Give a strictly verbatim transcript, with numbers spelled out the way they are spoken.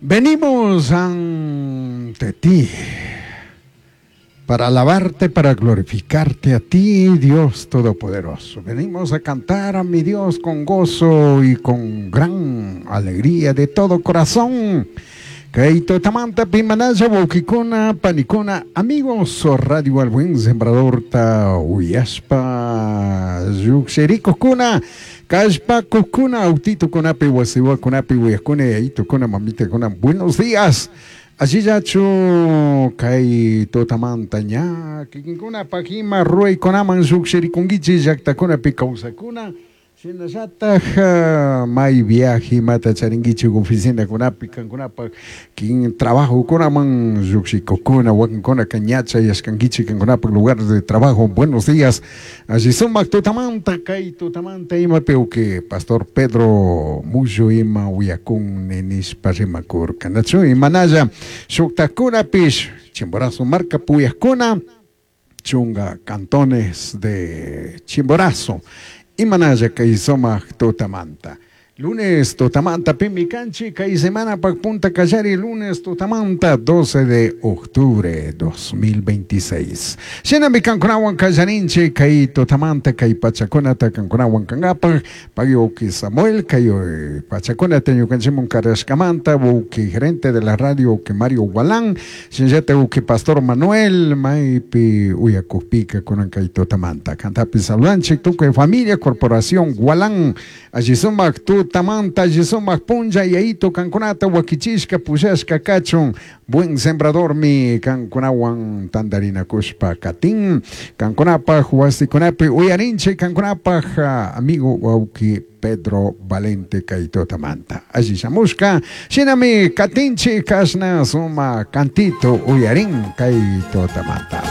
Venimos ante ti para alabarte, para glorificarte a ti, Dios Todopoderoso. Venimos a cantar a mi Dios con gozo y con gran alegría de todo corazón. Kay tutamanta pimanalla wawkikuna panikuna amigos Radio El Buen Sembrador ta uyashpa llukshirikukuna kallpakukuna autitukunapi wasiwakunapi uyakuna yayitukuna mamitakuna buenos días. Allillachu kay tutamanta ña kikinkunapaq ima ruwaykunaman llukshirikunkichik llaqtakunapi kawsakuna shinallataj may viaje imata charinkichik oficinakunapi kankunapaq kin trabajokunaman llukshikukuna wakinkunaka ña chayashkankichik kankunapaq lugar de trabajo. Buenos días. Alli sumak tutamanta kay tutamanta imapi uki pastor Pedro Mullo ima uyakun nishpa rimakurka nachu imanalla shuktakunapish Chimborazo marka puyakuna chunga cantones de Chimborazo imanalla kay sumak tutamanta. Lunes tutamanta pimi kanchik kay semana pak punta kallari lunes tutamanta doce de octubre dos mil veintiséis. Shinami kankunawan kallarinchik kay tutamanta kay pachakunata kankunawan kankapaq pay uki Samuel kay pachakunata ñukanchikmun karashkamanta uki gerente de la radio uki Mario Gualán shinallata uki Pastor Manuel maypi uyakukpika kunan kay tutamanta kantapi saludanchik tukuy familia corporación Gualán alli sumak tutamanta alli sumak punlla yayito kankunata wakichishka pushashka kachun buen sembradormi kankunawan tantarinakushpa katin kankunapaj wasikunapi uyarinchik kankunapaj amigo wawki Pedro Valente kay tutamanta alli shamushka shinami katinchik kashna suma cantito uyarin kay tutamanta.